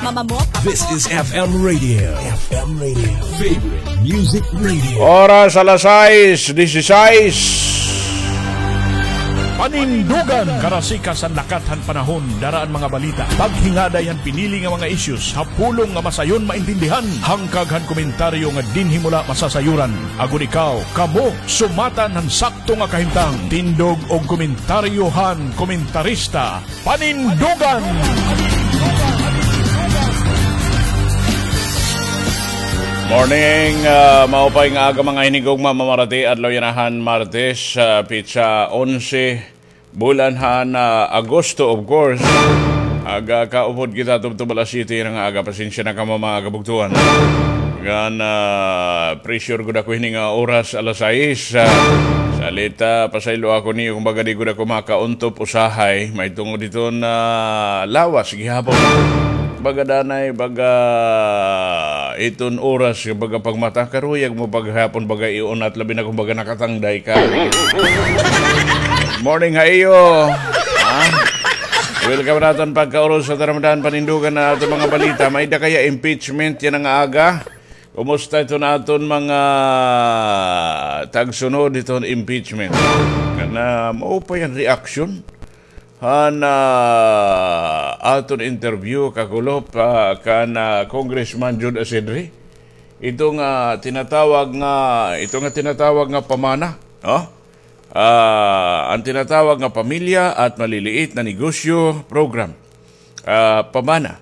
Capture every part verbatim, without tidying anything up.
Mama mo, papa mo. This is F M Radio. F M Radio. Favorite Music Radio. Oras alas sais, disisais. Panindugan, karasikas han lakat han panahon, dara an mga balita, paghingaday han pinili nga mga issues, ha pulong nga masayon maintindihan, hangkag han komentaryo nga dinhi mo la masasayuran. Agod ikaw, kamo, sumatan han sakto nga kahimtang. Tindog og komentaryo han komentarista, Panindugan! Morning, ah, maupay nga aga, mga hinigugma, mamarati, adlaw yana han Martes, ah, petsa onse, bulan han, ah, Agosto, of course. Aga kaupod kita, tubtob alas siyete yana nga aga, pasensya na kamo, mga kabugtoan. Ngan, ah, pressure gud ako hini nga oras, alas sais. Ah, salit, ah, pasayloa ako niyo kon baga di gud ako makauntop usahay, mahitungod hiton lawas gihapon. Baga danay, baga hiton oras, baga pagmata, karuyag mo paghapon, baga iunat, labi na kon baga nakatangday ka. Morning ha iyo. Ha? Welcome naton pagkauros sa taramdahan, panindugan na aton mga balita. May-ada kaya impeachment yana nga aga? Kumusta iton aton mga tagsunod hiton impeachment? Kana maupay an reaksyon han, ah, aton interview kakulop, ah, kan, ah, Congressman Jude Asedre. Ito nga tinatawag nga, ito nga tinatawag nga pamana, no? Ah, an tinatawag nga Pamilya at Maliliit na Negosyo Program. Ah, pamana,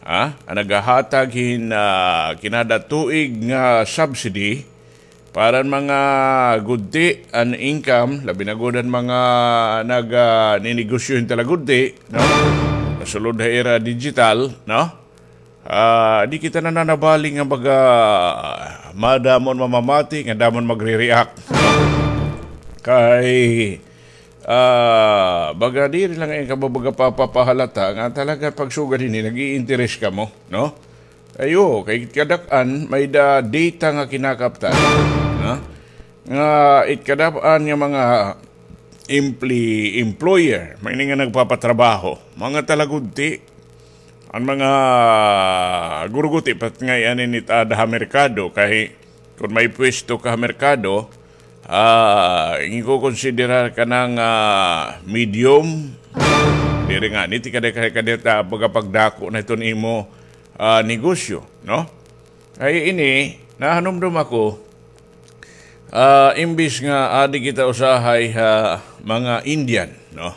ha? An naghahatag hin, ah, kinada tuig nga subsidy para an mga gudti an income, labi na gud an mga nag, ah, ninegosyo hin talagudti, no? Nasulod ha ira digital, no? Ah, di kita nananabali nga baga madamo an mamamati, nga damo an magre-react. Kay, ah, baga diri la ngay-an kamo baga papapahalata nga talaga pagsugad hini nag-iinteres kamo, no? Ayo, kay kadak-an may-ada data nga kinakaptan, no? Nga it kadak-an nga mga empli-, employer, may-ada nga nagpapatrabaho, mga talagudti, an mga gurugudti, pat ngay-an ini it aada ha merkado, kay kon may pwesto ka ha merkado, ah, ikukonsiderar ka na nga medium, diri ngani it kada, kada, kada, baga pagdako na iton imo, ah, negosyo, no? Kay ini, nahanumdom ako, ah, imbis nga adi kita usahay ha mga Indian, no?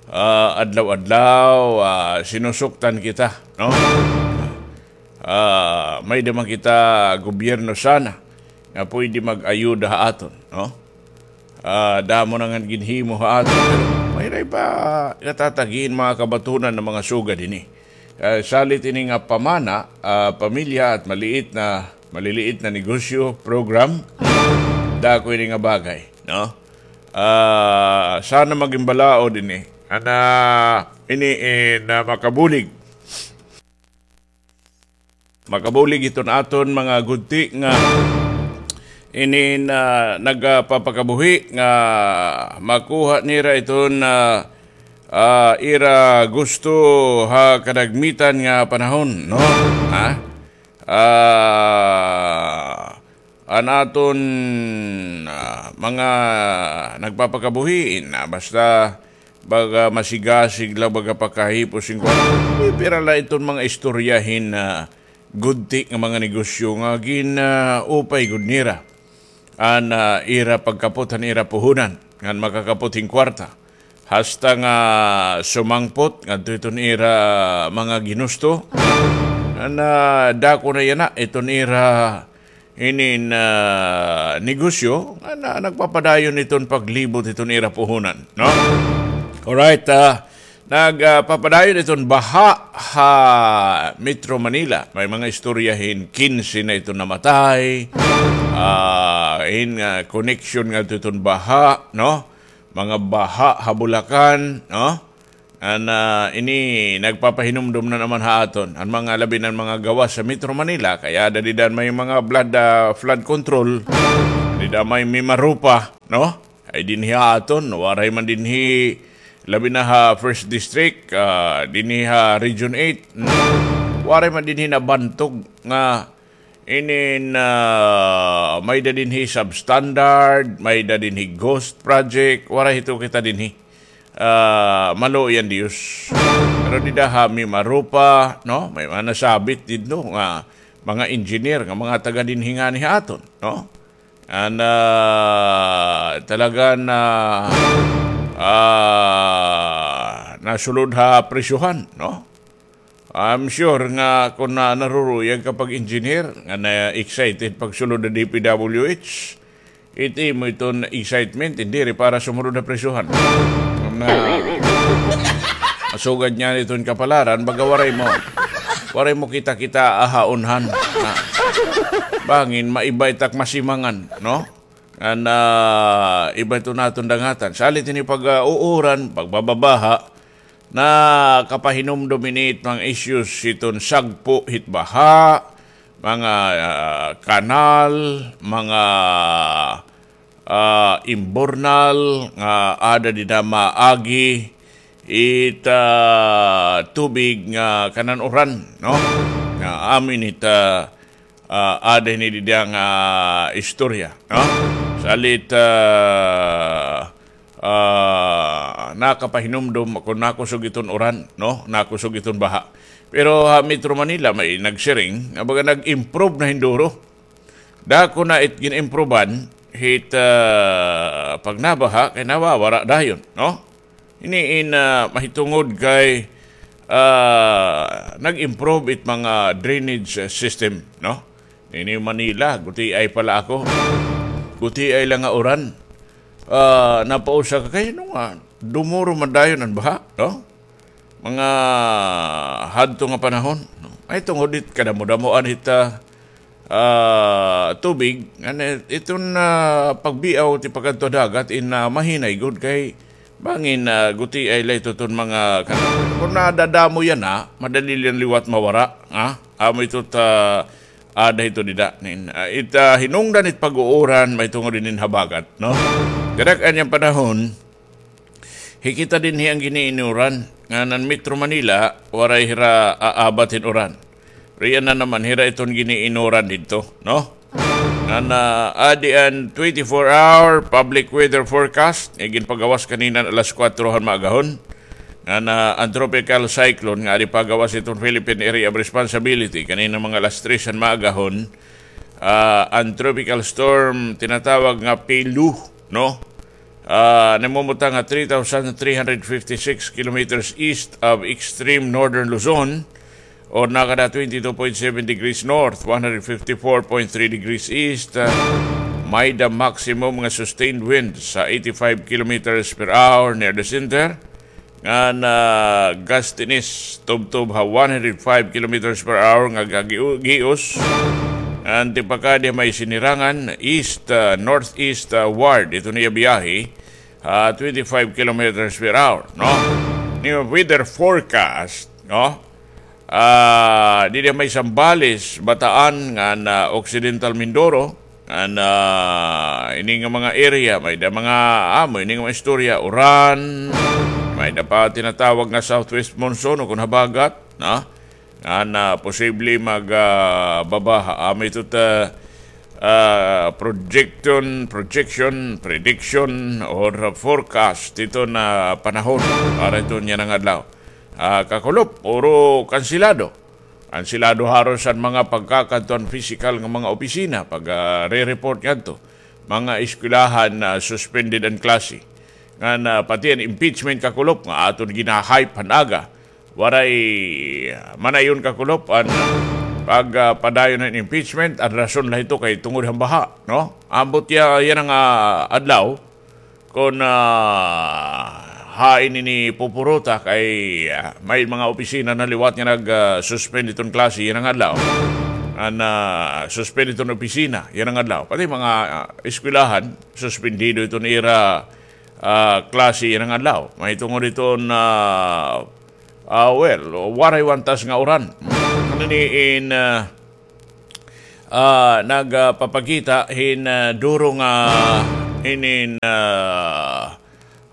Ah, adlaw-adlaw, ah, sinusuktan kita, no? Ah, may-ada man kita gobyerno sana nga pwede mag-ayuda ha aton, no? Ah, damo na nga ginhimo ha aton. Pero may-ada pa natatagi hin mga kabatunan nga mga sugad hini. Ah, salit ini nga pamana, ah, pamilya at maliit na, maliliit na negosyo program, dako ini nga bagay, no? Ah, sana maging balaod ini. Ana, ini, eh, na makabulig. Makabulig iton aton mga gudti nga inin, ah, nagpapakabuhi nga makuha nira iton, ah, ah, ira gusto ha kadagmitan nga panahon, no? Ha? Ah, an aton, ah, mga nagpapakabuhi, na basta baga masigasig la, baga pakahipos hin kwarta. Pipira la iton mga istorya hin, ah, gudti nga mga negosyo nga gin, ah, upay gud nira an, ah, ira pagkapot han ira puhunan ngan makakapot hin kwarta. Hasta nga sumangpot ngadto iton ira mga ginusto. Ngan, ah, dako na yana iton ira inin, ah, negosyo nga na, nagpapadayon iton paglibot iton ira puhunan, no? Alright, ah, nagpapadayon iton baha ha Metro Manila. May mga istorya hin kinse na iton namatay. Ah, hin, ah, connection ngadto iton baha, no? Mga baha ha Bulacan, no? An, ah, ini nagpapahinumdom na naman ha aton. An mga labi na an mga gawas sa Metro Manila, kay aada dida an may mga blood, ah, flood control. Dida may Mimaropa, no? Ay dinhi ha aton, waray man dinhi, labi na ha First District, ah, dinhi ha Region eight. Hmm. Waray man dinhi nabantog nga inin, ah, may-ada dinhi substandard, may-ada dinhi ghost project, waray hito kita dinhi. Ah, maluoy an Diyos. Pero dida ha Mimaropa, no? May mga nasabit didto nga mga engineer, nga mga taga dinhi ngani ha aton, no? An, ah, talaga na, ah, nasulod ha presyohan, no? I'm sure nga kon na naruruyag ka pag-engineer, nga na-excited pagsulod ha D P W H, it imo iton excitement, diri para sumunod ha presyohan. Na, masugad niyan iton kapalaran, baga waray mo, waray mo kita-kita aha unhan. Na, bangin, maiba it ak masimangan, no? Ngan, ah, iba ito naton dangatan. Salit ini pag, ah, uuran, pagbababaha, nakapahinumdom ini it mga issues hiton sagpo hit baha, mga, ah, kanal, mga, ah, imbornal, nga ada dida maagi it, ah, tubig nga kanan uran, no? Nga amin it, ah, ah, ada ini dida nga istorya, no? Salit, ah, ah, nakapahinumdom kon nakusog iton uran, no? Nakusog iton baha. Pero ha Metro Manila, may nagsiring nga baga nag-improve na hin duro. Dako na it gin-improvean hit, ah, pagnabaha kay nawawara dayon, no? Ini in, ah, mahitungod kay, ah, nag-improve it mga drainage, ah, system, no? Ini Manila, gutiay pa la ako. Gutiay la nga uran. Ah, napausa ka kay ano nga, dumuro man dayon an baha, no? Mga hadto nga panahon, no? Mahitungod it kadamo-damoan it, ah, ah, tubig, ngan iton, ah, pagbiaw ti pakadto ha dagat in, ah, mahinay gud kay bangin, ah, gutiay la ito ton mga kan-, kon nadadamo yana, madali la liwat mawara, ha? Amo ito ta, ada ito dida. Nin, ah, it, ah, hinungdan it pag-uuran, mahitungod inin habagat, no? Kadak-an yana nga panahon, hikita dinhi an gin-iinuran, ngan an Metro Manila, waray hira aabat hin uran. Riyan na naman hira iton gin-iinuran didto, no? Ngan, ah, adi an twenty-four hour public weather forecast, nga ginpagawas kanina alas kuwatro han maagahon. Ngan, ah, an tropical cyclone nga adi pagawas iton Philippine Area of Responsibility, kanina mga alas tres han maagahon, ah, an tropical storm tinatawag nga Pelu, no? Ah, namumutang ha three thousand three hundred fifty-six kilometers east of extreme northern Luzon, or nakada twenty-two point seven degrees north, one hundred fifty-four point three degrees east. Ah, may-ada maximum nga sustained winds ha eighty-five kilometers per hour near the center. Ngan, ah, gustiness tubtob ha one hundred five kilometers per hour nga gagiu-, gius. Ngan tipakadi ha may Sinirangan, east, ah, northeast, ah, ward, ito niya biyahe, ah, twenty-five kilometers per hour, no? Niya weather forecast, no? Ah, didi ha may Zambales, Bataan, ngan, ah, Occidental Mindoro, ngan, ah, ini nga mga area, may-ada mga, ah, amo ini nga mga istorya, uran, may-ada pa tinatawag nga southwest monsoon, o kon habagat, no? Ngan, ah, posible mag, ah, babaha. Amo ito ta, ah, projection, projection, prediction, or forecast ito na panahon para ito niya nga adlaw. Ah, kakulop, puro kansilado. Kansilado haros an mga pagkakadto han pisikal nga mga opisina, pag, ah, re-report ngadto. Mga eskwelahan na suspended an klase. Ngan, ah, pati an impeachment, kakulop, nga aton gina-hype han aga. Waray, ah, manayon, kakulop, an pag, ah, padayon han impeachment, an rason la ito kay tungod han baha, no? Ambot ya, yana nga adlaw, kon, ah, hain ini pupuruta kay, ah, may mga opisina na liwat nga nag, ah, suspend iton klase yana nga adlaw. An, ah, suspend iton opisina yana nga adlaw. Pati mga, ah, eskwelahan, suspendido iton ira, ah, klase yana nga adlaw. Mahitungod iton, ah, ah, well, waray wantas nga uran. Ano ni in, ah, ah, nagpapakita hin, ah, duro nga inin, ah,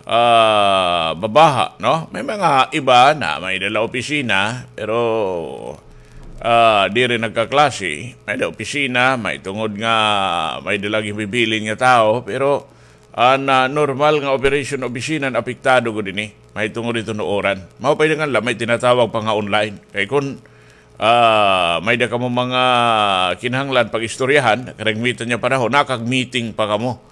ah, babaha, no? May mga iba na may-ada la opisina, pero ah, diri nagkaklase, may-ada opisina, mahitungod nga may-ada la gibibilin nga tawo, pero an, ah, normal nga operation opisina, apektado gud ini. Mahitungod hiton uran. Mao pa ini nga la, may tinatawag pa nga online. Kay kun, ah, may-ada kamo mga kinahanglan pag-istoryahan, karagmitan nga panahon, nakag-meeting pa kamo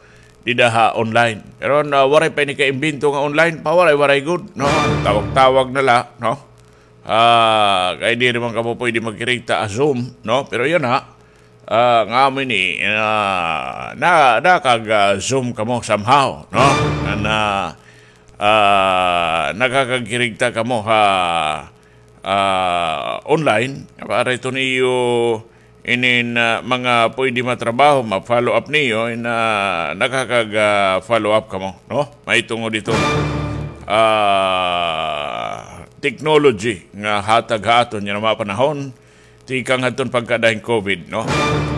dida ha online. Pero, ah, waray pa ini kaimbento nga online, pawaray-waray gud, no? Tawag-tawag na la, no? Ah, kay diri man kamo pwede magkirigta ha Zoom, no? Pero yana, ah, nga amo ini, ah, na, nakag, ah, Zoom kamo somehow, no? Nga na, ah, nakakagkirigta kamo ha, ah, online, para iton iyo inin, ah, mga pwede matrabaho, ma-follow up niyo, in, ah, nakakag, ah, follow up kamo, no? Mahitungod hiton, ah, technology nga hatag ha aton yana mga panahon, tikang hadton pagkada hin COVID, no?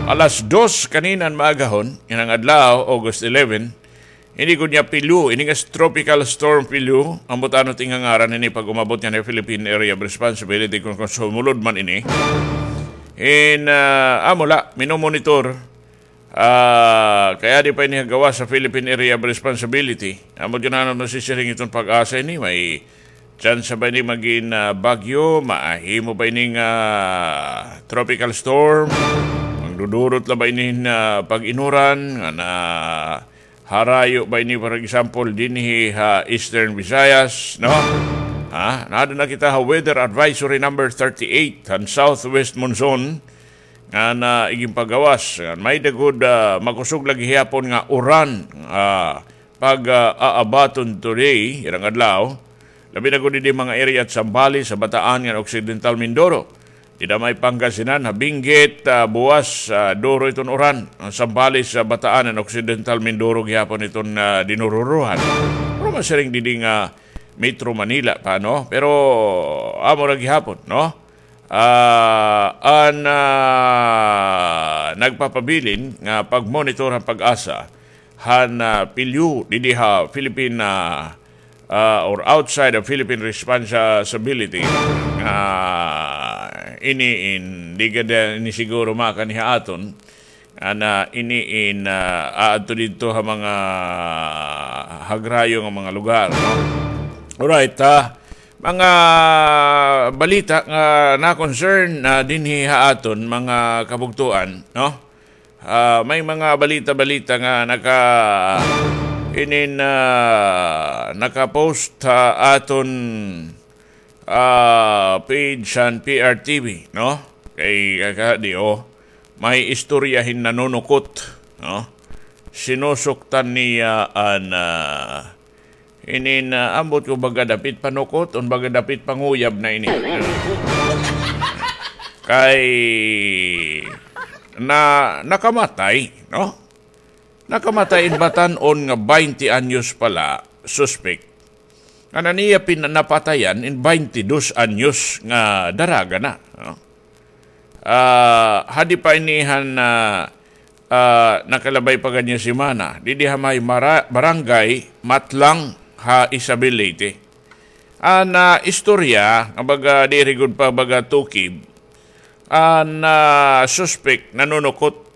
Alas dos kanina han maagahon, yana nga adlaw, August eleven, ini gud nga Pilyu, ini nga Tropical Storm Pilyu, ambot ano it iya ngaran ini pag umabot yana ha Philippine Area of Responsibility kun, kun sumulod man ini. In, ah, amo la, minomonitor. Ah, kay adi pa ini ha gawas ha Philippine Area of Responsibility. Ambot kun ano nasisiring iton PAGASA ini, may tsansa ba ini magin, ah, bagyo, mahimo ba ini nga tropical storm, magdudurot la ba ini hin, ah, pag-inuran, nga na harayo ba ini, for example, dinhi ha Eastern Visayas, no? Ha? Naada na kita ha Weather Advisory number thirty-eight, han southwest monsoon, nga na iginpagawas. May-ada gud, ah, makusog la gihapon nga uran, ah, pag, ah, aabaton today, yana nga adlaw. Labi na gud didi mga area ha Zambales, ha Bataan, ngan Occidental Mindoro. Dida may Pangasinan, ha Benguet, ah, buwas, ah, duro iton uran. An Zambales, ha Bataan, an Occidental Mindoro gihapon iton, ah, dinururuhan. Pero masiring didi nga Metro Manila pa, no? Pero amo ra gihapon, no? Ah, an, ah, nagpapabilin nga pagmonitor han PAGASA han, ah, Pilyu didi ha Philippine, ah, ah, or outside of Philippine responsibility, ah, ini in, di gad ini siguro makani ha aton, ana ini in, ah, aadto didto ha mga hagrayo nga mga lugar, no? Alright, ah, mga balita nga na-concern na dinhi ha aton mga kabugtoan, no? Ah, may mga balita-balita nga naka-, inin, ah, naka-post ha aton, ah, page han P R T V, no? Kay, kaka-, di, oh, may istorya hin nanunukot, no? Sinusuktan niya an, ah, Inin, ah, ambot ko baga dapit panukot, o baga dapit panguyab na ini. Kay na, nakamatay, no? Nakamatay in batan-on nga baynte anyos pa la, suspek. An iya pin-, napatayan in baynte dos anyos nga daraga na, no? Ah, hadi pa ini han, ah, ah, nakalabay pa gad nga semana. Didi ha may mara-, barangay Matlang ha Isabel, Leyte. An, ah, istorya, nga baga diri gud pa baga tukib, an, ah, suspek nanunukot.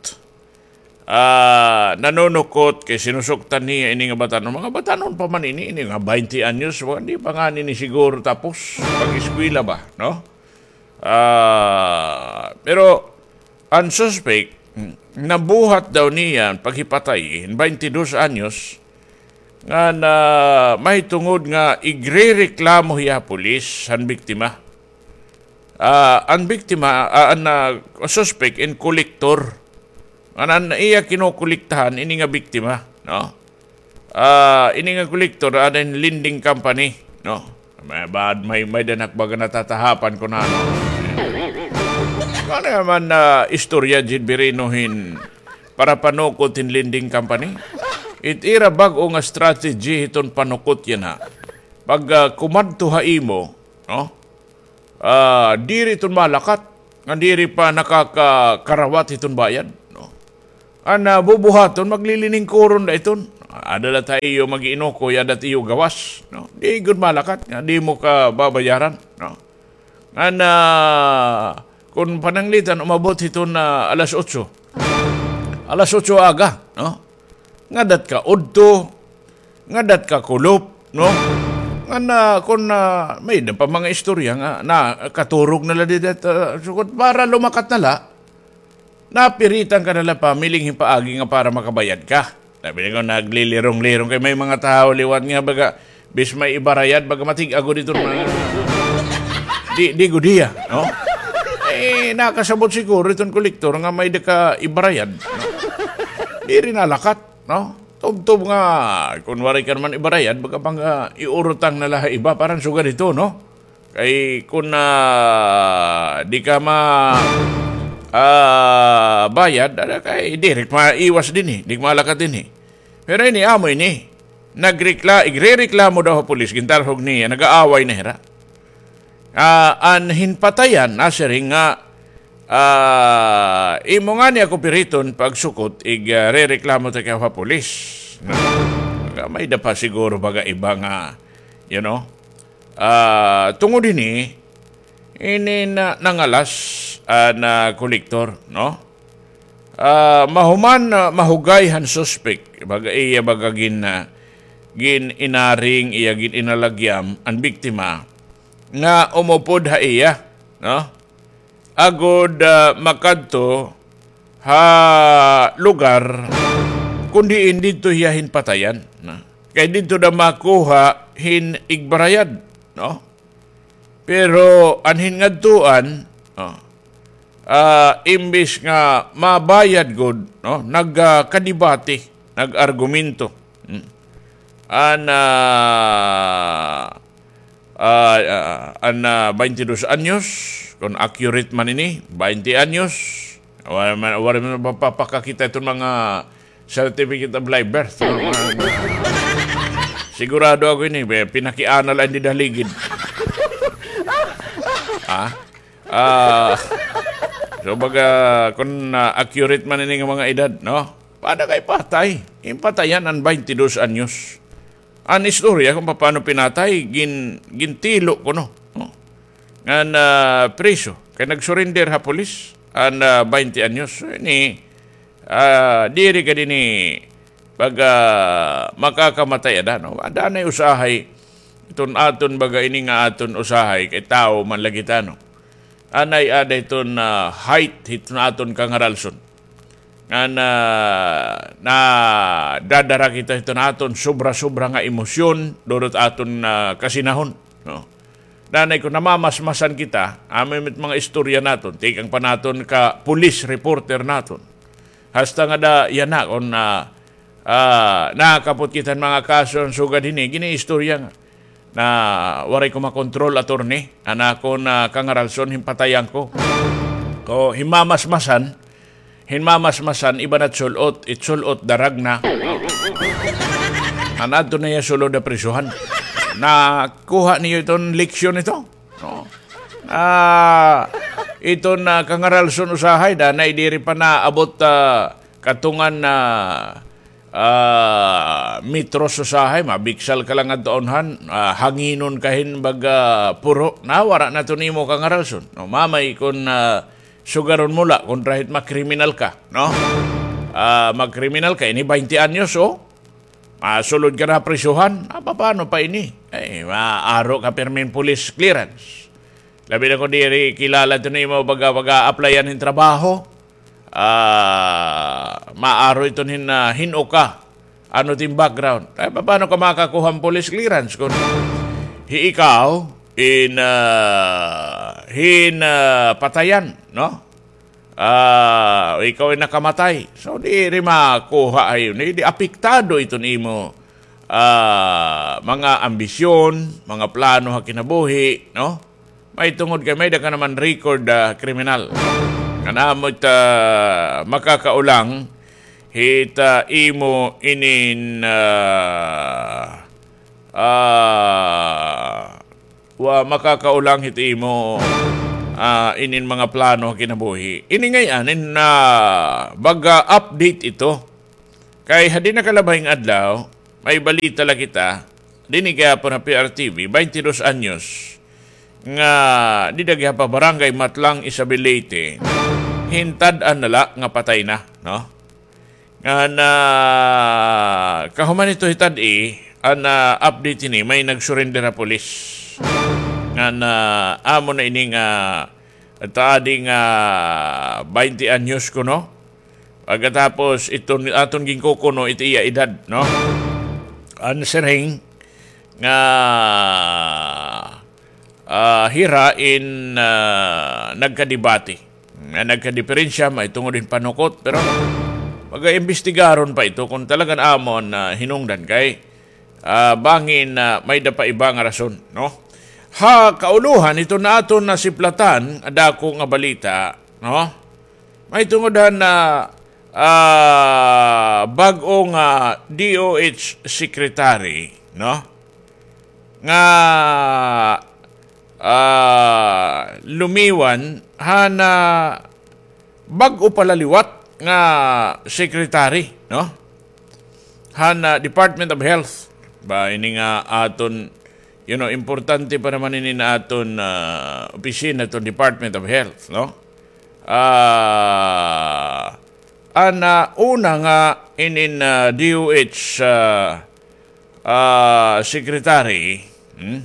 Ah, nanunukot kay sinusuktan niya ini nga batan-on. Mga batan-on pa man ini, ini nga baynte anyos, wa-, di pa ngani ini siguro tapos pag-eskwela ba, no? Ah, pero an suspek, nabuhat daw niya an paghipatay, baynte dos anyos, nga na mahitungod nga igrereklamo hiya ha pulis an biktima. Ah, an biktima, ah, an, ah, suspek in kolektor. An, an iya kinokolektahan ini nga biktima, no? Ah, ini nga kolektor, ada in lending company, no? May bad, may, may danak baga natatahapan ko na, no? Ano naman na istorya, Jid Birino, hin para panukot hin lending company? It ira bag-o nga strategy hiton panukot yana. Pag, ah, kumadto ha imo, no? Ah, diri iton malakat, nga diri pa nakakakarawat hiton bayad, no? An, ah, bubuhaton, magliliningkuron la iton. Ada la ta iyo mag-iinukoy, ada ta iyo gawas, no? Di gud malakat, nga di mo ka babayaran, no? An, ah, Kon pananglitan, umabot hiton, ah, alas otso. Alas otso aga, no? Ngadat ka udto, ngadat ka kulop, no? Ngan, ah, kon, ah, may-ada pa mga istorya nga nakaturog na la dida, ah, sugad para lumakat na la. Napiritan ka na la pamiling hin paagi nga para makabayad ka. Sabi ko, naglilirong-lirong kay may mga tawo liwat nga baga, bis may ibarayad, baga matig-a gud iton mga, di, di gud hiya, no? Eh, nakasabot siguro iton kolektor nga may-ada ka ibarayad, no? Diri nalakat, no? Tubtob nga, kun waray ka naman ibarayad, baga pang, ah, iurutang na la ha iba, parang sugad ito, no? Kay kun, ah, di ka ma-, ah, bayad, ada kay diri ka maiwas dinhi, di ka malakat dinhi. Pero ini, amo ini, nagrekla-, igrereklamo daw ha pulis, gintarhog niya, nag-aaway na hira. Ah, an hin patayan, nasiring nga, ah, imo ngani ako piriton pagsukot, ig, ah, rereklamo ta kay ha pulis. Na, may-ada pa siguro baga iba nga, you know, Ah, tungod hini, ini na, nangalas, ah, na kolektor, no? Ah, mahuman, ah, mahugay han suspek, baga iya baga gin, ah, gin-inaring, iya gin-inalagyam an biktima nga umupod ha iya, no? Agod, ah, makadto ha lugar kon diin didto hiya hin patayan, no? Kay didto daw makuha hin igbarayad, no? Pero an hin ngadtuan, no? Ah, imbis nga mabayad gud, no? Nag, ah, kadibati, nag-argumento. Hmm. An, ah, Ah, ah, an, ah, baynte dos anyos, kon accurate man ini, baynte anyos. Waray man, waray man mapapakakita iton mga certificate of live birth. Sigurado ako ini, be, pinakiana la ini dida ha ligid. Ah? Ah, so baga, kon, ah, accurate man ini nga mga edad, no? Paano kay patay? Impatayan an baynte dos anyos. An istorya kon papaano pinatay, gin-, gintilo kuno, no? Ngan, ah, priso. Kay nag-surrender ha pulis, an, ah, baynte anyos. So, ini, ah, diri ka dinhi pag, ah, makakamatay ada, no? Ada nay usahay, iton aton baga ini nga aton usahay, kay tawo man la kita, no? Anay ada iton, ah, height, hiton aton kangaralson. Nga na, nadadara kita hiton aton sobra-sobra nga emosyon, durot aton, ah, kasinahon, no? Danay kon namamasmasan kita, amo it mga istorya naton, tikang pa naton ka police reporter naton. Hasta nga da, yana, kon, ah, ah, nakakapot kita hin mga kaso, an sugad hini, giniistorya nga na waray ko makontrol, attorney, an akon, ah, kangaralson, hin patayan ko. Ko, hin mamasmasan, hin mamasmasan, iba na it sul-ot, it sul-ot, darag na. An adto na hiya sulod ha prisohan. Nakuha niyo iton leksyon ito? No? Ah, iton, ah, kangaralson usahay, danay diri pa naabot, ah, katungan na ah, metros usahay, mabiksal ka la ngadto ha unhan, ah, hanginon ka hin baga puro, na wara na ito nimo kangaralson. No, mamay kon, ah, sugaron mo la, kontra hit makriminal ka, no? Ah, magkriminal ka, ini baynte anyos, oh. Masulod ka na ha prisohan, ah, paano pa ini? Ay, maaro ka pirmi hin police clearance. Labi na kon diri kilala ito nimo baga, baga applyan hin trabaho. Ah, maaro iton hin, ah, hin-o ka. Ano it im background? Ay, paano ka makakuha hin police clearance kon hi ikaw in, ah, hin, ah, patayan, no? Ah, ikaw in nakamatay. So, diri makuha ha iyo. Di, di apektado iton imo, ah, mga ambisyon, mga plano ha kinabuhi, no? Mahitungod kay may-ada ka naman record, ah, kriminal. Nga namo it, ah, makakaulang hit, ah, imo inin, ah, ah, wa makakaulang hit imo, ah, inin mga plano ha kinabuhi. Ini ngay-an in, ah, baga update ito. Kay ha di nakalabay nga adlaw, may balita la kita, dinhi gihapon ha P R T V, baynte dos anyos, nga dida gihap ha Barangay Matlang, Isabel, Leyte, hintad-an na la nga patay na, no? Ngan, ah, kahuman hito hitad-i, an, ah, update hini, may nag-surrender ha pulis. Ngan, ah, amo na ini nga, taadi nga, baynte anyos kuno. Pagkatapos, iton aton ginkukuno, iti iya edad, no? An siring nga, ah, hira in, ah, nagkadebate. Nga nagkadiperensya, mahitungod hin panukot, pero magaimbestigaron pa ito kon talagan amo an, ah, hinungdan kay, ah, bangin, ah, may-ada pa iba nga rason, no? Ha kaulohan, ito na aton nasiplatan, dako nga balita, no? Mahitungod han, ah, ah, bag-o nga D O H secretary, no? Nga, ah, lumiwan han, ah, bag-o pa la liwat nga secretary, no? Han, ah, Department of Health. Ba, ini nga aton, you know, importante pa naman ini na aton, ah, opisina, iton Department of Health, no? Ah, an, ah, una nga inin, ah, D O H, ah, ah, secretary, hmm?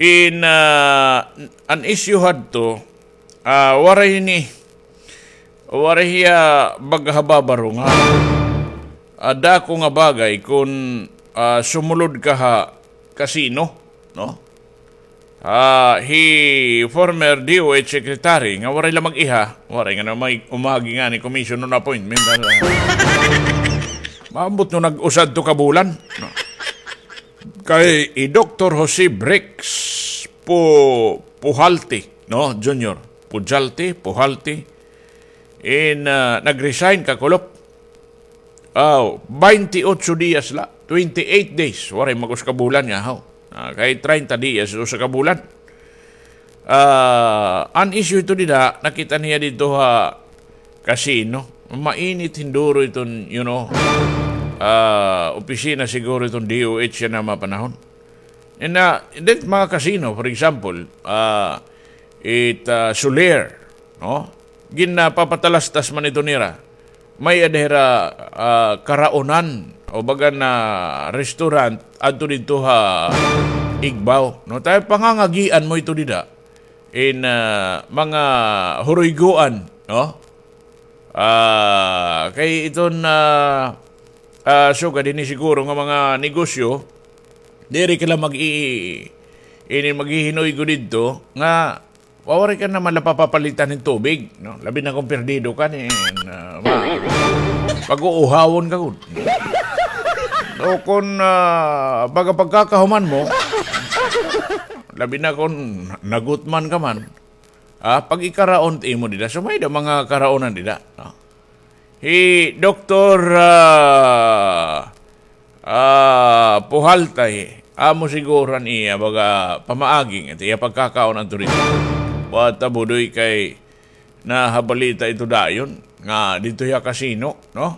In, ah, an issue hadto, ah, waray ni, waray hiya baga ha babaro nga, ah, dako nga bagay kon, ah, sumulod ka ha kasino, no? Ah, hi former D O H secretary nga waray la mag-iha, waray nga na may umagi ngani commission on appointment. Maabot no nag-usa adto ka bulan, no? Kay hi Doktor Jose Brix Pu-, Pujalte, no, Junior? Pujalte, Pujalte. In, ah, nag-resign kakulop. Aw, baynte otso diyas la, twenty-eight days. Waray mag-usa ka bulan nga, haw. Ah, kay treinta diyas, usa ka bulan. Ah, an issue ito dida, nakita niya didto ha kasino. Mainit hinduro iton, you know, ah, opisina siguro iton D O H yana mga panahon. And, ah, that mga kasino, for example, ah, it, ah, Soler, no? Ginapapatalastas man ito nira. May-ada hira, ah, karaonan o baga na restaurant adto didto ha Igbaw, no? Tay pangangagian mo ito dida in, ah, mga huruygoan, no? Ah, kay iton, ah, ah, sugad hini siguro nga mga negosyo, diri ka la mag-i-, ini maghihinuygo didto nga waray ka naman la papapalitan hin tubig, no? Labi na kon perdido ka, ni, ah, ma-, pag-uuhawon ka gud. O kon, ah, baga pagkakahuman mo, labi na kon nagutman ka man, ah, pag-ikaraon it imo dida. So, may-ada mga karaonan dida, no? Hi Doktor, ah, ah, Pujalte, amo siguro an iya baga pamaagi, it iya pagkakaon adto didto. Buot ta, Budoy, kay nahabalita ito dayon nga didto hiya kasino, no?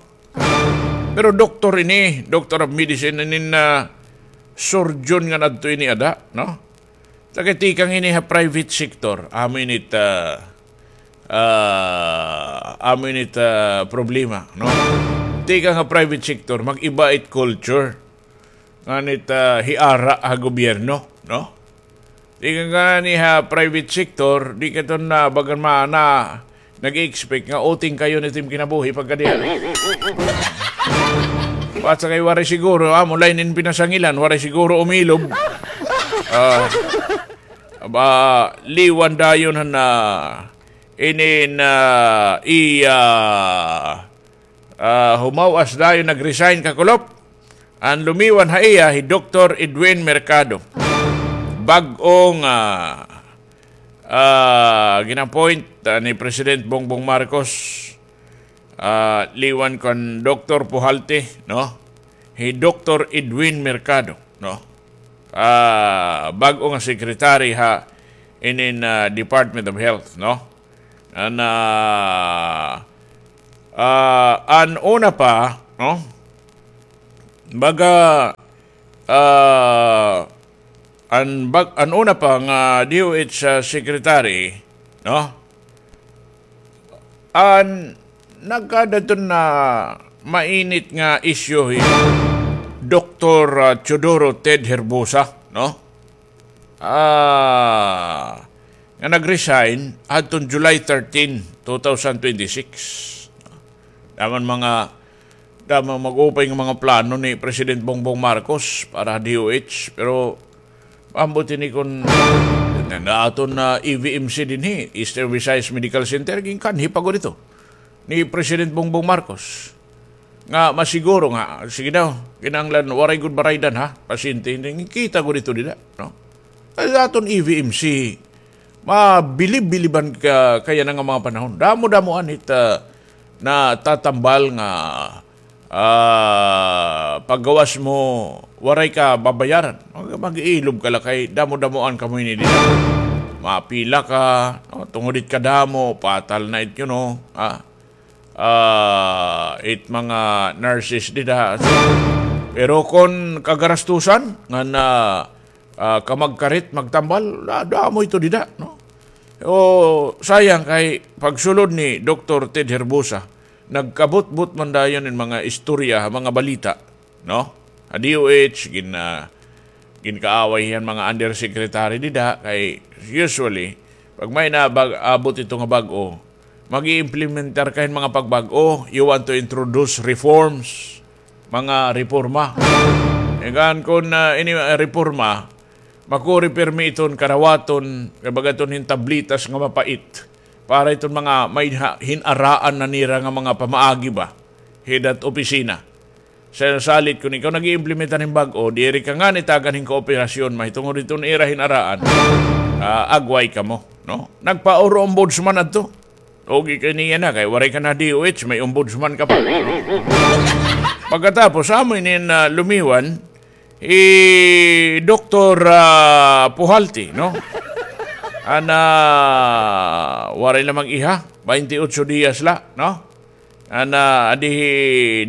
Pero doktor ini, Doctor of Medicine, inin, ah, surgeon nga adto ini ada, no? Taga tikang ini ha private sector, amo ini it, ah, ah, amo ini it, ah, problema, no? Tikang ha private sector, mag-iba it culture ngan it, ah, hiara ha gobyerno, no? Tikang ngani ha private sector, di ka ito na bagan ma-, na nag-expect nga uting kay-on it im kinabuhi pagkadiha. Basta kay waray siguro, amo la inin pinasangilan, waray siguro umilob. Ah, ba, liwan dayon han, ah, inin, ah, iya, ah, humaw-as dayon, nag-resign kakulop. An lumiwan ha iya hi Doktor Edwin Mercado. Bag-o nga, ah, ah, gin-appoint, ah, ni President Bongbong Marcos, ah, liwan kan Doktor Pujalte, no? Hi Doktor Edwin Mercado, no? Ah, bag-o nga secretary ha inin, ah, Department of Health, no? An, ah, ah, an una pa, no? Baga, ah, an bag-, an una pa nga D O H, ah, secretary, no? An nagkadto na mainit nga issue hi Doktor, ah, Teodoro Ted Herbosa, no? Ah, nga nag-resign adton July thirteen, two thousand twenty-six. Damo an mga, damo an mag-upay nga mga plano ni President Bongbong Marcos para D O H, pero ambot ini kon na aton na E V M C dinhi, Eastern Visayas Medical Center, ginkanhi pa gud ito ni President Bongbong Marcos. Nga masiguro nga, sige daw, kinahanglan waray gud baraydan, ha, pasyente. Kita gud ito dida, no? Ay, aton E V M C, mabilib-biliban ka, kaya na nga mga panahon. Damo-damo anit, ah, natatambal nga, ah, paggawas mo, waray ka babayaran. Mag-, mag-iilob ka la kay damo-damoan kamo ini dida. Mapila ka, no? Tungod it kadamo, patal na it, you know, ah, ah, it mga nurses dida. So, pero kon kagarastusan nga na, ah, kamagkarit, magtambal, da-, damo ito dida, no? O, sayang kay pagsulod ni Doktor Ted Herbosa, nagkabutbot man dayon in mga istorya, mga balita, no? Ha D O H, gin-, ah, ginkaaway hiyan mga undersecretary dida, kay usually, pag may nabag-, abot ito nga bag-o, mag-iimplementar ka hin mga pagbag-o, you want to introduce reforms, mga reforma. Ikan kon, ah, ini, ah, reforma, makuri pirmi iton karawaton, kay baga iton hin tablitas nga mapait. Para iton mga may ha-, hin-araan na nira nga mga pamaagi ba, hit opisina. Sa salit kon ikaw nag-iimplementar hin bag-o, diri ka ngani tagan hin kooperasyon, mahitungod hiton ira hin-araan, ah, agway kamo, no? Nagpa-oro ombudsman adto. Okay kay niya na, kay waray ka na D O H, may ombudsman ka pa. Pagkatapos, amo ini na lumiwan, hi Doktor, ah, Puhalti, no? Ana, waray la mag-iha, baynte otso diyas la, no? Ana, adi hi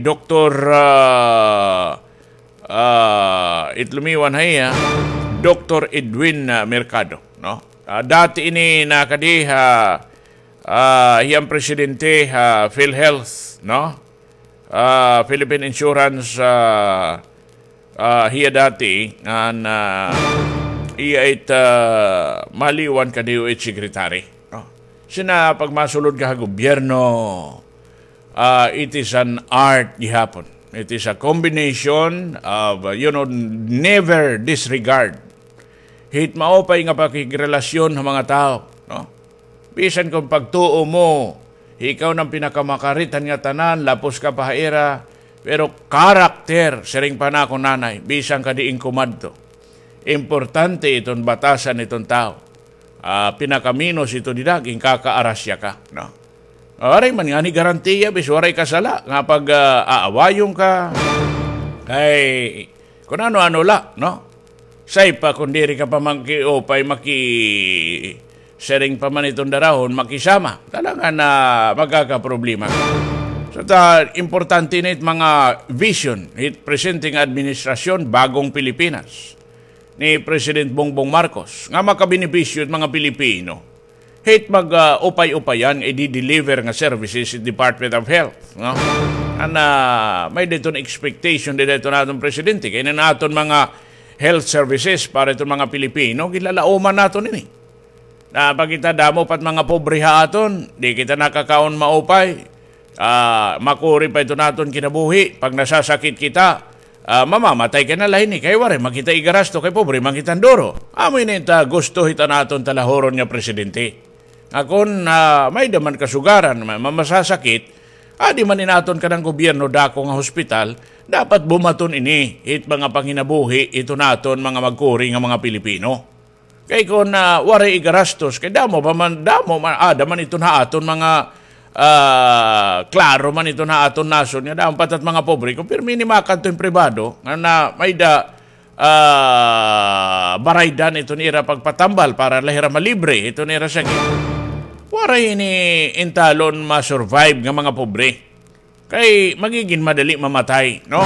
Doktor, ah, ah, it lumiwan ha iya, Doktor Edwin, ah, Mercado, no? Ah, dati ini nakadi ha, ah, hiya an presidente ha PhilHealth, no? Ah, Philippine Insurance, ah, ah, hiya dati, ngan, ah, iya it, ah, maliwan ka D O H secretary, no? Sina pagmasulod ka ha gobyerno, ah, it is an art gihapon. It is a combination of, uh, you know, never disregard hit maupay nga pakigrelasyon ha mga tawo, no? Bisan kon pagtuo mo, ikaw na an pinakamakarit han ngatanan, lapos ka pa ha ira, pero karakter, siring pa nakon nanay, bisan ka diin kumadto. Importante iton batasan iton tawo. Ah, pinakaminos ito dida, ginkakaarasya ka, no? Waray man ngani garantiya, bis waray ka sala, nga pag, ah, aawayon ka. Kay, kun ano-ano la, no? Say pa kun diri ka pa mangkiupay, maki-, siring pa man iton darahon, makisama. Talaga na magkakaproblema ka. So, ta, importante na it mga vision, it presente nga administrasyon, bagong Pilipinas ni President Bongbong Marcos, nga makabenepisyo it mga Pilipino. Hit mag, ah, upay-upayan, i-deliver nga services sa Department of Health, no? Ana, may-ada iton expectation dida iton aton presidente. Kay ini an aton mga health services para iton mga Pilipino, ginlalauman naton ini. Na pag kita damo pa it mga pobre ha aton, di kita nakakaon maupay. Ah, makuri pa iton aton kinabuhi. Pag nasasakit kita, ah, mamamatay ka na la hini, kay waray man kita igarasto, kay pobre man kita hin duro. Amo ini it, ah, gusto hit an aton talahuron nga presidente. Nga kon, ah, may-ada man kasugaran, ma-, ma-, masasakit, adi man in aton kanan gobyerno dako nga hospital, dapat bumaton ini hit mga panginabuhi hiton aton mga magkuri nga mga Pilipino. Kay kon, ah, waray igarastos, kay damo pa man, damo man, aada man iton ha aton mga, ah, klaro man iton ha aton nasod nga damo pa it mga pobre. Kon pirmi ini makadto hin pribado, nga na may-ada, ah, baraydan iton ira pagpatambal para la hira malibre iton ira sakit. Waray ini intalon ma-survive nga mga pobre. Kay magigin madali mamatay, no?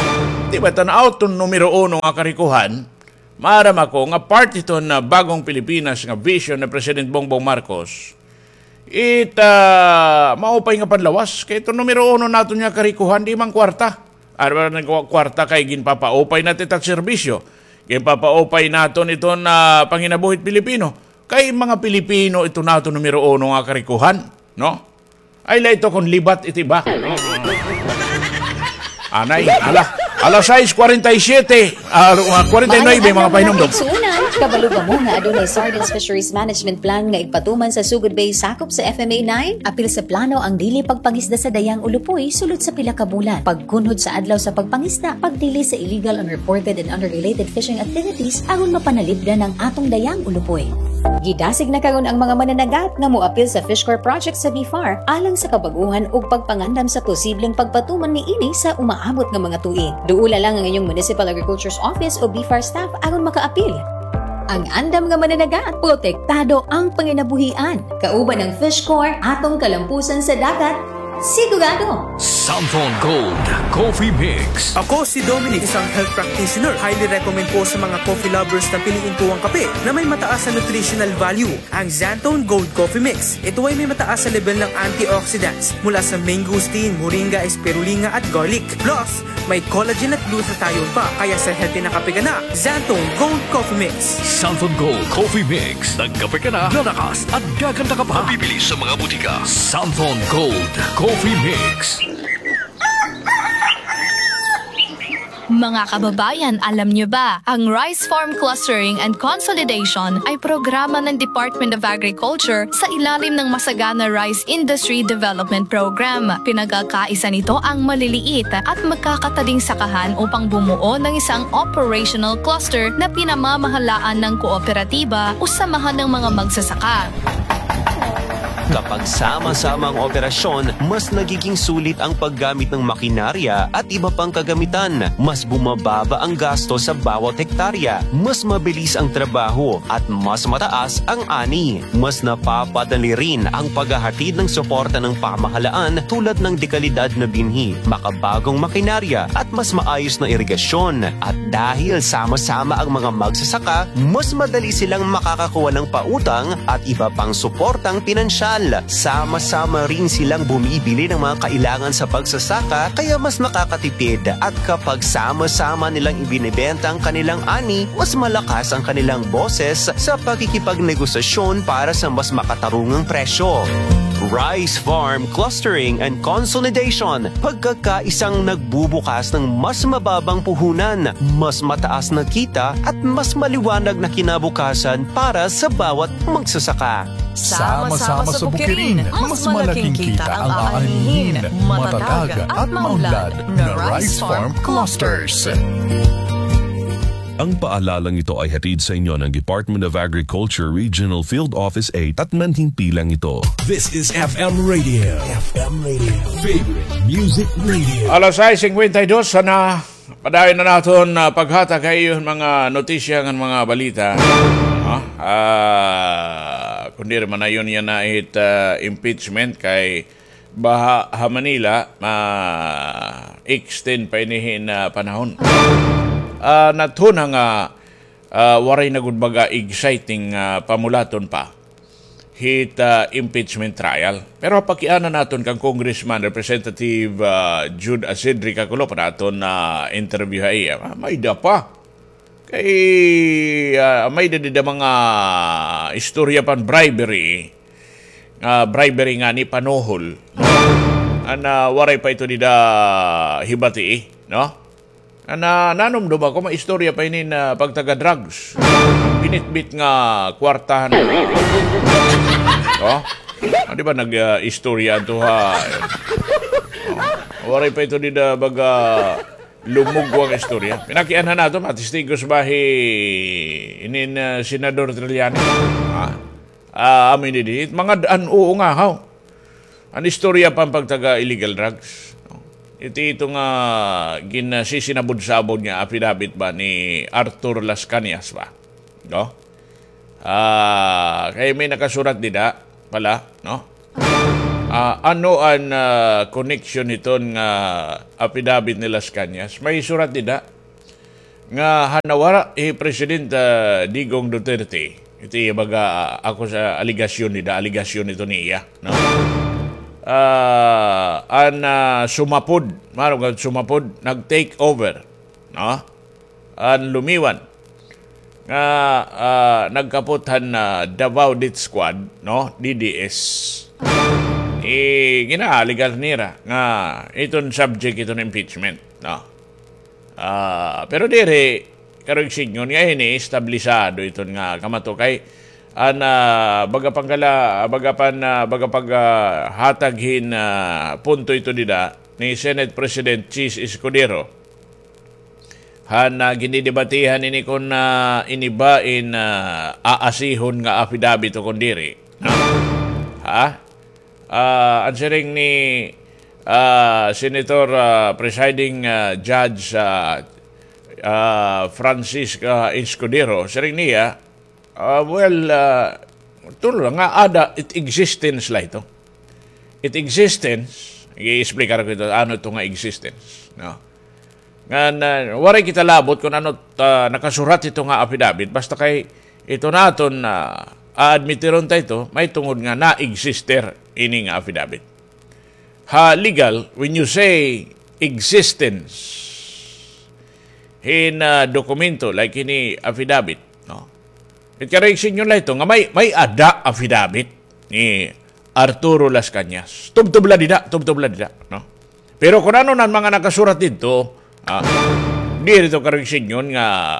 Di ba, tan-aw ton numero uno nga karikohan, maaram ako nga part iton, ah, bagong Pilipinas nga vision ni President Bongbong Marcos. It, ah, maupay nga panlawas. Kay iton numero uno naton nga karikohan, di man kwarta. Ano ba nagkwarta kay ginpapaupay naton it serbisyo? Ginpapaupay naton iton, ah, panginabuhi hit Pilipino. Kay mga Pilipino ito naton numero uno nga karikohan, no? Ay, la ito kon libat iti iba. Anay, ala, alas sais kwarenta y siyete, ah, kwarenta y nuebe, mga pahinumdom. Igsunan, kabalo kamo nga adunay Sardines Fisheries Management Plan nga igpatuman sa Sugod Bay, sakop sa F M A nine? Apil sa plano ang dili pagpangisda sa Dayang Ulupoy sulod sa pila ka bulan. Pagkunhod sa adlaw sa pagpangisda, pagdili sa illegal, unreported, and unregulated fishing activities aron mapanalipdan ang atong Dayang Ulupoy. Gidasig na karon ang mga mananagat nga moapil sa Fish Corps project sa BFAR alang sa kabag-ohan ug pagpangandam sa posibleng pagpatuman niini sa umaabot nga mga tuig. Duola lang ang inyong Municipal Agriculture's Office o BFAR staff aron makaapil. Ang andam nga mananagat, protektado ang panginabuhian. Kauban ang Fish Corps, atong kalampusan sa dagat, sigurado! Santon Gold Coffee Mix. Ako si Dominic, isang health practitioner. Highly recommend ko sa mga coffee lovers na piliin ko ang kape na may mataas na nutritional value, ang Xanthone Gold Coffee Mix. Ito ay may mataas na level ng antioxidants mula sa mangosteen, moringa, spirulina at garlic. Plus, may collagen at glutathione pa, kaya sa healthy na kape ka na, Xanthone Gold Coffee Mix. Santon Gold Coffee Mix. Nagkape ka na, lalakas at gaganda ka pa. Mabibili sa mga butika. Santon Gold Coffee Mix. Mga kababayan, alam niyo ba, ang Rice Farm Clustering and Consolidation ay programa ng Department of Agriculture sa ilalim ng Masagana Rice Industry Development Program. Pinagkakaisa nito ang maliliit at magkakatading sakahan upang bumuo ng isang operational cluster na pinamamahalaan ng kooperatiba o samahan ng mga magsasaka. Kapag sama-sama ang operasyon, mas nagiging sulit ang paggamit ng makinarya at iba pang kagamitan. Mas bumababa ang gasto sa bawat hektarya, mas mabilis ang trabaho, at mas mataas ang ani. Mas napapadali rin ang paghahatid ng suporta ng pamahalaan tulad ng dekalidad na binhi, makabagong makinarya, at mas maayos na irigasyon. At dahil sama-sama ang mga magsasaka, mas madali silang makakakuha ng pautang at iba pang suportang pinansyal. Sama-sama rin silang bumibili ng mga kailangan sa pagsasaka, kaya mas nakakatipid. At kapag sama-sama nilang ibinebenta ang kanilang ani, mas malakas ang kanilang boses sa pakikipagnegosasyon para sa mas makatarungang presyo. Rice Farm Clustering and Consolidation, pagkakaisang nagbubukas ng mas mababang puhunan, mas mataas na kita, at mas maliwanag na kinabukasan para sa bawat magsasaka. Sama-sama sa bukirin, mas malaking kita ang aanihin, matatag at maunlad na Rice Farm Clusters. Ang paalalang ito ay hatid sa inyo ng Department of Agriculture Regional Field Office eight at manhimpi lang ito. This is F M Radio. F M Radio. Favorite Music Radio. Alas sais singkwenta y dos na. Padayon na naton, ah, paghatag ha iyo mga notisya ngan mga balita. No? Ah, kundi man ayon yana it, ah, impeachment kay baha ha Manila, ma-extend pa ini hin, ah, panahon. Ah, nathuna nga, ah, waray na gud baga exciting, ah, pamulaton pa hit, ah, impeachment trial. Pero pakiana naton kan Congressman Representative, ah, Jude Asidri Kakulop, naton na interview ha iya. Ah, may-ada pa. Kay, ah, may-ada dida mga istorya pan bribery. Ah, bribery ngani panuhol. An, ah, waray pa ito dida hibati, no? An, ah, nanumdom ako, may istorya pa ini na pagtaga-drugs. Binitbit nga kwartahan. Oh? Ah, di ba nag, ah, istorya ato ha? Oh. Waray pa ito dida baga lumugwa nga istorya. Pinakianhan nato, matistigos ba hi inin, ah, Senador Trillanes? Ha? Ah, amin didi. Mga daan, oo nga, haw. An istorya pan pagtaga illegal drugs. Iti ito nga ginasisinabod-sabod nga affidavit ba ni Arthur Las Cañas ba? No? Ah, kay may nakasurat dida pala, no? Ah, ano an, ah, connection hiton nga affidavit ni Las Cañas? May surat dida. nga han nawara hi President, ah, Digong Duterte. Ito iya baga, ah, ako sa alegasyon nida, alegasyon ito niya, no? Ah, an, ah, sumapod, maro nga sumapod, nag-take over, no? An lumiwan nga, ah, nagkapot han, ah, Davao Death Squad, no? D D S. Eh, ginaalegar nira nga iton subject iton impeachment, no? Ah, pero diri, karuyag sidngon nga ini, establisado iton nga kamato kay an, ah, baga pangkala-, baga pan-, ah, baga pag, ah, hatag hin, ah, punto ito dida ni Senate President Chiz Escudero. Han, ah, ginidebatehan ini kon, ah, ini ba in, ah, aasihon nga affidavit o kon diri. Ha? Ah, an siring ni, ah, Senator, ah, Presiding, ah, Judge, ah, ah, Francisca Escudero, siring niya, ah, well, ah, turo la nga ada it existence la ito. It existence, i-explicar ko ito, ano ito nga existence, no? Ngan, ah, waray kita labot kon ano, ah, nakasurat ito nga affidavit, basta kay ito naton, ah, aadmitiron ta ito, mahitungod nga na-exister ini nga affidavit. Ha legal, when you say existence hin, ah, dokumento, like ini affidavit, no? It karuyag sidngon la ito nga may, may-ada affidavit ni Arturo Las Cañas. Tubtob la dida, tubtob la dida, no? Pero kon ano na an mga nakasurat didto, ah, diri ito karuyag sidngon nga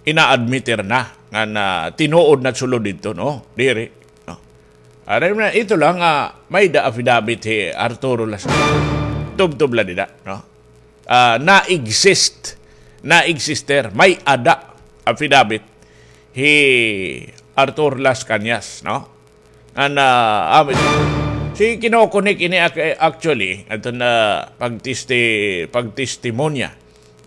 ina-admitir na nga, nga tinuod na sulod didto, no? Diri, no? Ano na, ito lang, ah, may-ada affidavit hi Arturo Las Cañas. Tubtob la dida, no? Ah, na-exist, na-exister, may-ada affidavit hi Arthur Las Cañas, no? An, ah, amit. Si kinokonek ini ac-, actually, aton, ah, pagtesti-, pagtestimonya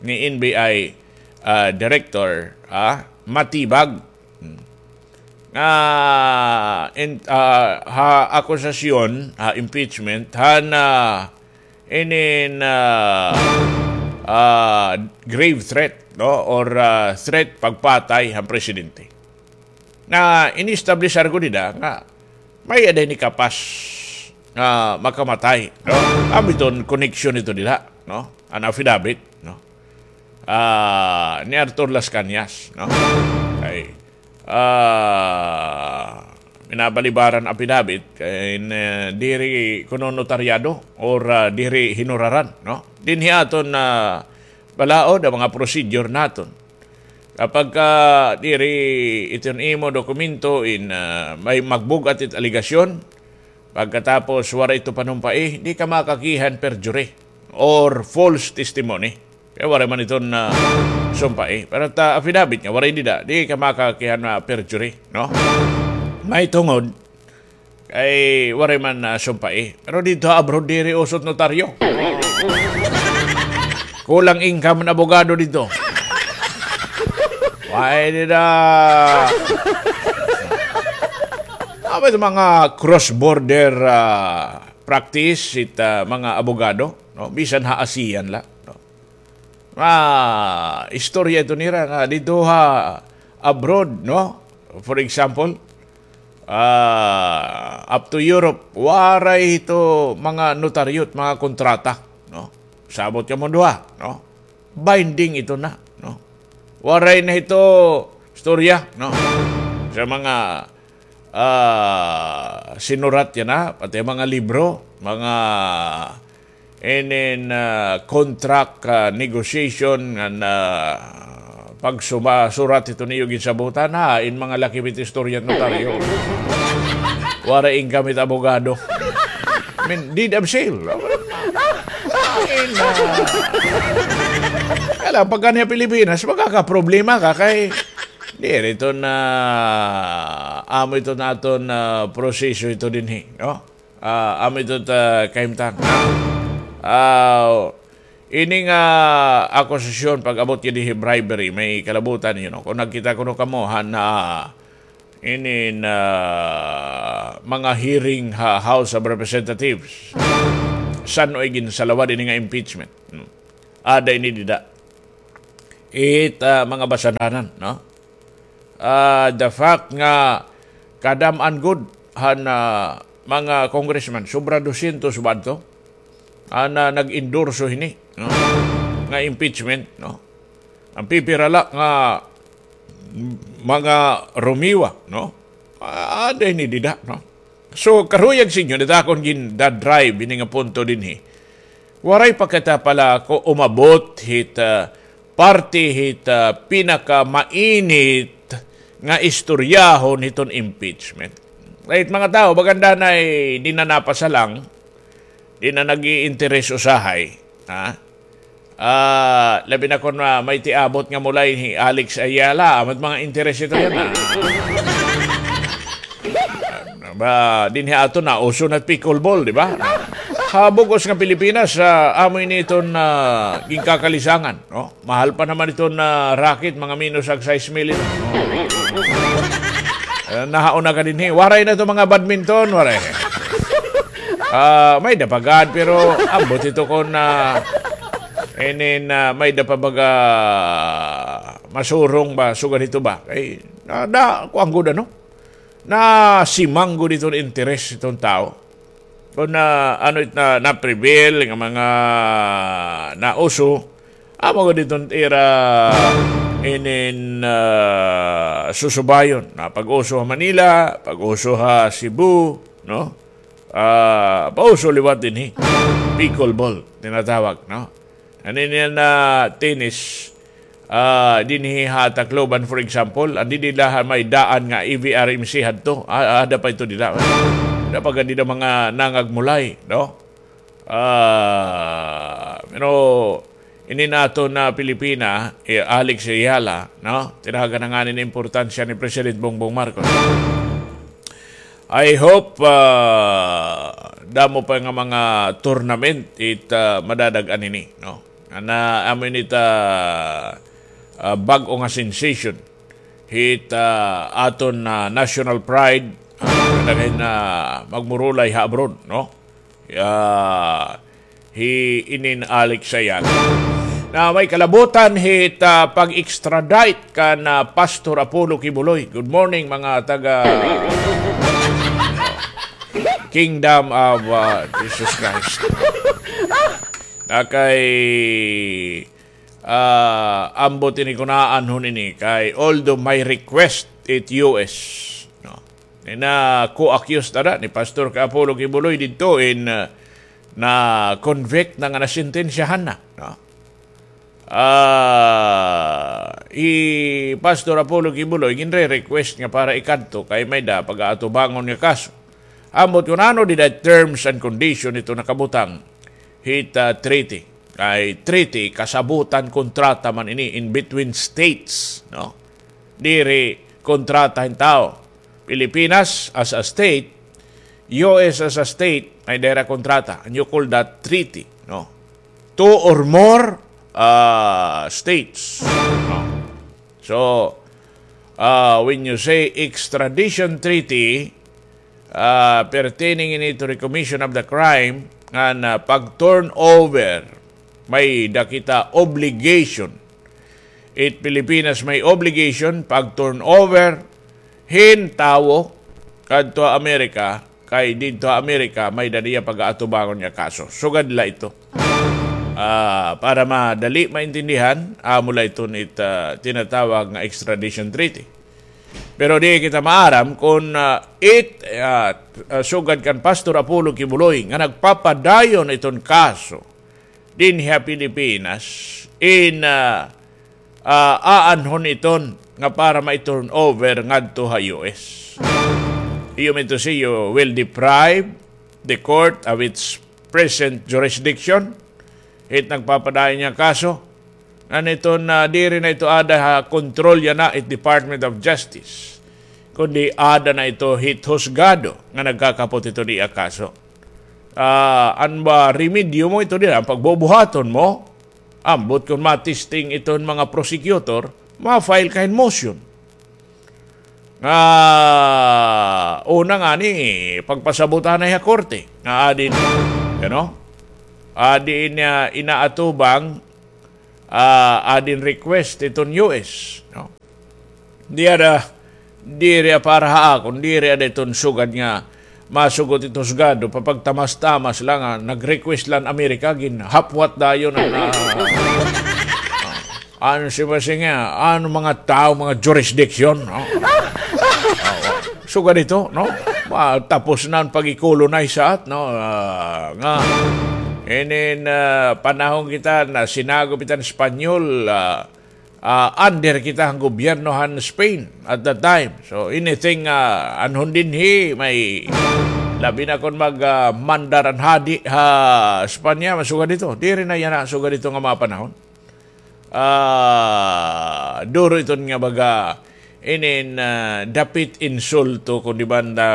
ni N B I, ah, Director, ah, Matibag. Hmm. Nga, in, ah, ha akusasyon, ha impeachment, han, ah, inin, ah, ah, grave threat, no? Or, ah, threat pagpatay han presidente. Nga, ini-establish argo dida nga may-ada ini kapas nga makamatay, no? Amo iton koneksyon ito dida, no? An affidavit, no? Ah, ni Arthur Las Cañas, no? Ay, ah, minabalibaran affidavit, kay, eh, diri kuno notaryado or, ah, diri hinuraran, no? Dinhi aton, ah, balaod an mga procedure naton. Kapag ka diri iton imo dokumento in, ah, may magbug-at it alegasyon, pagkatapos waray ito panumpai, di ka makakihan perjury or false testimony. Kay waray man iton, ah, sumpai. Pero ta affidavit nga waray dida, di ka makakihan nga perjury, no? Mahitungod kay waray man, ah, sumpai. Pero didto ha abroad diri uso it notaryo. Kulang income an abogado didto. Waray dida. Amo it mga cross-border, ah, practice it, ah, mga abogado, no? Bisan ha ASEAN la, no? Ah, istorya ito nira nga didto ha abroad, no? For example, ah, up to Europe, waray ito mga notaryo it mga kontrata, no? Sabot kamo duha, no? Binding ito na, no? Waray na ito istorya, no? Sa mga, ah, sinurat yana, pati mga libro, mga inin, ah, contract, ah, negotiation ngan, ah, pagsuma-, surat ito niyo ginsabutan, ha, in mga laki bit istorya notaryo. Waray income it abogado. I mean, deed of sale. In, ah, kaya lang, pagka niya Pilipinas, magkakaproblema ka kay diri ito na, amo ito naton, ah, proseso ito dinhi, no? Ah, amo ito ta kahimtang. Ah, ini nga akusasyon pag-abot gid hi bribery, may kalabutan, you know. Kung nagkita kuno kamo han, ah, inin, ah, mga hearing ha House of Representatives, san-o iginsalawad ini nga impeachment. Hmm. Ada ini dida. it, ah, mga basananan, no? Ah, the fact nga kadam-an gud han, ah, mga congressman, sobra dosyentos ba adto? An, ah, nag-endorso hini, no? Nga impeachment, no? An pipira la nga mga rumiwa, no? Ah, ada ini dida, no? So, karuyag sa inyo, dida akon gin-drive ini nga punto dinhi. Waray pa kita pala ko umabot hit, ah, parte hit, ah, pinakamainit nga istoryahon hiton impeachment. Right, mga tawo, baga andanay di na napasalang, di na nag-iinteres usahay, ha? Ah, labi na kon, ah, may tiabot nga mulay hi Alex Ayala, amat mga interes ito yan, ah. Ba, dinhi ato na, uso na pickleball, di ba? Ha bug-os nga Pilipinas, ah, amo ini iton, ah, ginkakalisangan, no? Mahal pa naman iton, ah, racket, mga minus ag sais mil ito. Ah, nahauna ka dinhi. Waray na ito mga badminton, waray. Ah, may da pa gad, pero ambot ito kon, ah, inin, ah, may da pa baga masurong ba, sugad ito ba? Ay, na, na, kuan gud, ano? Nasimang gud iton interes iton tawo. Kon na, ano it na, na-prevail nga mga nauso, amo gud iton ira inin, ah, susubayon. Na pag-uso ha Manila, pag-uso ha Cebu, no? Ah, pauso liwat dinhi. Pickleball, tinatawag, no? An ini na tennis, ah, dinhi ha Tacloban, for example, an didi la ha may daan nga E V R M C hadto. Ah, ada pa ito dida. Ada pa gad dida mga nangagmulay, no? Ah, pero ini naton na Pilipina, eh, Alex Ayala, no? Tinagan na ngani an importansya ni President Bongbong Marcos. I hope, ah, damo pa nga mga tournament it, ah, madadag-an ini, no? Ana, amo ini it, ah, ah, bag-o nga sensation hit, ah, aton, ah, national pride, ah, kadaghan na magmurulay ha abroad, no? Ah, hi inin Alex Ayala. Na may kalabutan hit, ah, pag-extradite kan, ah, Pastor Apollo Quiboloy. Good morning, mga taga Kingdom of, ah, Jesus Christ. Na kay, ah, ambot ini kun aanhon ini kay although may request it U S, no? Ni na co-accused ada ni Pastor ka Apollo Quiboloy didto in, ah, na-convict na nga nasentensyahan na, no? Ah, hi Pastor Apollo Quiboloy, ginre-request nga para ikadto kay may da pag-aatubangon nga kaso. Ambot kun ano dida terms and condition ito nakabutang hit, ah, treaty. Kay treaty, kasabutan, kontrata man ini in between states, no? Diri kontrata hin tawo. Pilipinas as a state, U S as a state, may dira kontrata. And you call that treaty, no? Two or more, ah, states, no? So, ah, when you say extradition treaty, ah, pertaining ini to the commission of the crime, ngan, ah, pag-turn over, may da kita obligation. It Pilipinas may obligation pag-turn over hin tawo kadto ha Amerika, kay didto ha Amerika may da niya pag-aatubangon nga kaso. Sugad la ito. Ah, para madali maintindihan, amo la iton it, ah, tinatawag nga extradition treaty. Pero di kita maaram kun, ah, it, ah, ah, sugad kan Pastor Apollo Quiboloy nga nagpapadayon iton kaso dinhi ha Pilipinas in, ah, ah, aanhon iton nga para mai-turn over ngadto ha U S. You mean to say you will deprive the court of its present jurisdiction? It nagpapadayon nga kaso. Ngan iton, ah, diri na ito ada ha kontrol yana it Department of Justice. Kundi ada na ito hit husgado nga nagkakapot ito niya kaso. Ah, an ba remedyo mo ito dida, an pagbubuhaton mo, ambot kun matesting iton mga prosecutor, ma-file ka hin motion. Nga una ngani, pagpasabutanay ha korte. Nga adi, you know? Adi niya inaatubang ah, adi in request iton U S, no? Di ada, diri para ha akon, diri ada iton sugad nga masugot it husgado, papagtamas-tamas la nga nag-request la an Amerika, ginhapwat dayon an, ah, ano siya ba siya nga, ano mga tao, mga jurisdiction, no? Oo. Sugad ito, no? Ma-, tapos na an pag-colonize sa at, no? Ah, nga, inin, ah, panahon kita na sinagop kita han Espanyol, ah, ah, under kita han gobyerno han Spain at that time. So, anything, ah, anhon dinhi, may labi na kon mag, ah, mandar an hadi ha Espanya, masugad ito. Diri na yana sugad ito nga mga panahon. Ah, duro iton nga baga, inin, ah, dapit insulto, kundi banda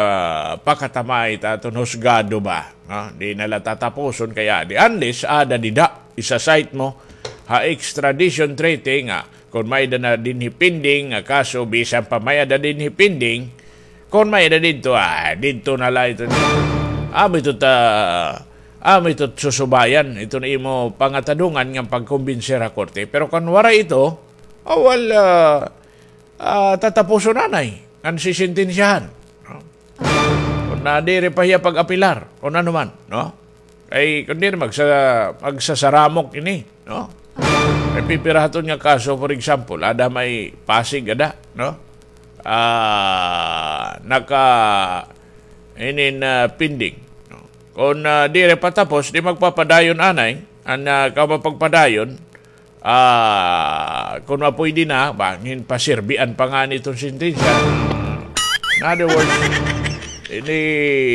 pakatamay ta aton husgado ba, no? Di na la tatapuson kay adi. Unless, ada dida, isa-cite mo ha extradition treaty nga, kon may-ada na dinhi pending nga kaso, bisan pa may-ada dinhi pending, kon may-ada didto, ah, didto na la ito. Amo ito ta, amo ito susubayan, ito na imo pangatadungan nga pagkumbinser ha korte. Pero kon waray ito, ah, wal, ah, ah, tatapuson anay, ngan sisentensyahan, no? Kon na diri pa hiya pag-apilar, kon ano man, no? Kay, kon diri, magsa-, magsasaramok ini, no? Kay pipira ha aton nga kaso, for example, ada may Pasig, ada, no? Ah, naka, inin, ah, pending, no? Kon, ah, diri pa tapos, di magpapadayon anay, an, ah, kamapagpadayon, ah, kon mapuydi na, bangin pasirbian pa ngani iton sentensya. In other words, ini,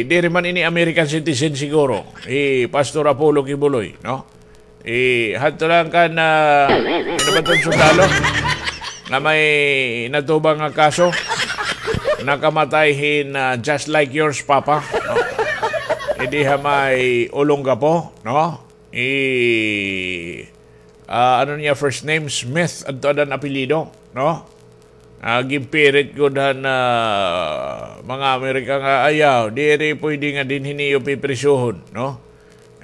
diri man ini American citizen siguro, hi Pastor Apollo Quiboloy, no? Eh, hadto lang kan, ah, ano ba iton sundalo? Nga may natubang nga kaso. Nakamatay hin, ah, just like yours, Papa. No? Hindi ha may Olongapo, no? Eh, ah, ano niya first name? Smith, adto ada an apelyido, no? Ah, ginpirit gud han, ah, mga Amerika nga ayaw, diri puydi nga dinhi niyo piprisuhon, no?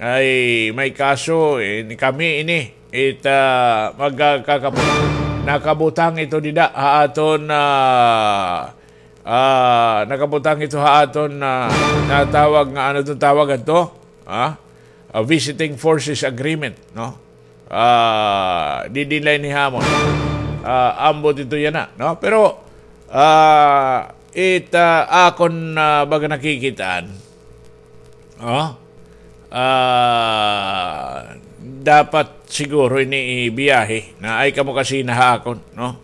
Ay, may kaso, eh, kami ini, it, ah, magkakapot. Nakabutang ito dida, ha aton, ah, ah, nakabutang ito ha aton, ah, natawag nga, ano iton tawag ato? Ha? Ah, visiting forces agreement, no? Ah, didi la ini hamon. Ah, ambot ito yana, no? Pero, ah, it, ah, akon, ah, baga nakikitaan, oh, ah, dapat siguro ini ibiyahe, naay kamo kasi na ha akon, no?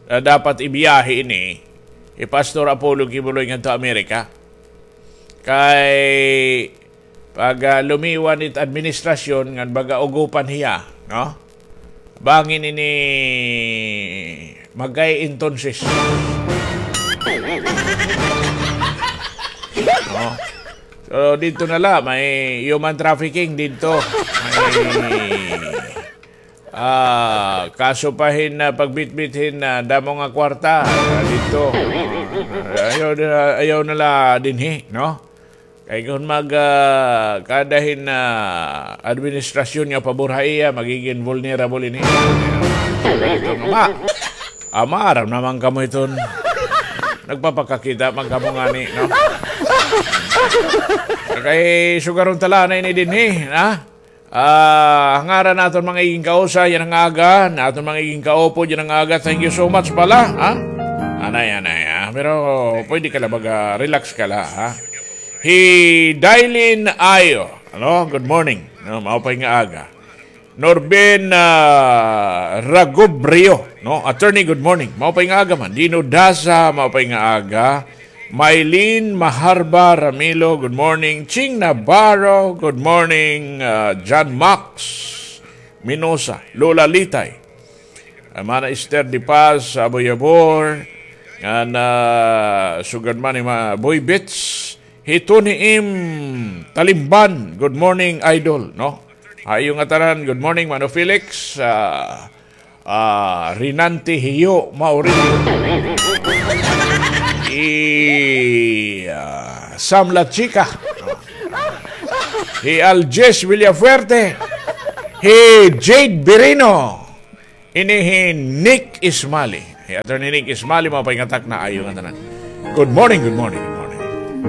Ah, dapat ibiyahe ini hi Pastor Apollo Quiboloy ngadto Amerika. Kay pag, ah, lumiwan it administrasyon ngan baga ugopan hiya, no? Bangin ini magkay entonces. No? So, didto na la, may human trafficking didto. May Ah, kaso pa hin, ah, pagbitbit hin, ah, damo nga kwarta, ah, didto. Ah, ayaw na, ayaw na la dinhi, no? Kay kon mag, ah, kada hin, ah, administrasyon nga pabor ha iya, magigin vulnerable ini. Ito nga, ma-, ah, maaram naman kamo iton. Nagpapakakita man kamo ngani, no? Kay sugaron ta la anay ini dinhi, ha? Ah, ngaran han aton mga igingkausa yana nga aga, han aton mga igingkaupod yana nga aga, thank you so much pala, ha? Anay, anay, ha? Pero pwede ka la baga, relax ka la, ha? Hi Dailin Ayo, ano? Good morning. No, maupay nga aga. Norben, ah, Ragobrio, no? Attorney, good morning. Maupay nga aga man. Dino Daza, maupay nga aga. Mylene Maharba Ramilo, good morning. Ching Navarro, good morning. Ah, John Max Minosa, Lola Litay, ah, Mana Esther De Paz, Aboy Abor, ngan, ah, sugad man ni Ma-, Boy Bits, hi Tony M Talimban, good morning, idol, no? Ha iyo ngatanan, good morning, Mano Felix, ah, Ah, Rinante Hiyo Maurilio. Hi, ah, Sam La Chica. Hi Aljes Villafuerte. Hi Jade Birino. Ini hi Nick Ismali. Hi Attorney Nick Ismali, maupay nga takna, ayo nga tanan. Good morning, good morning.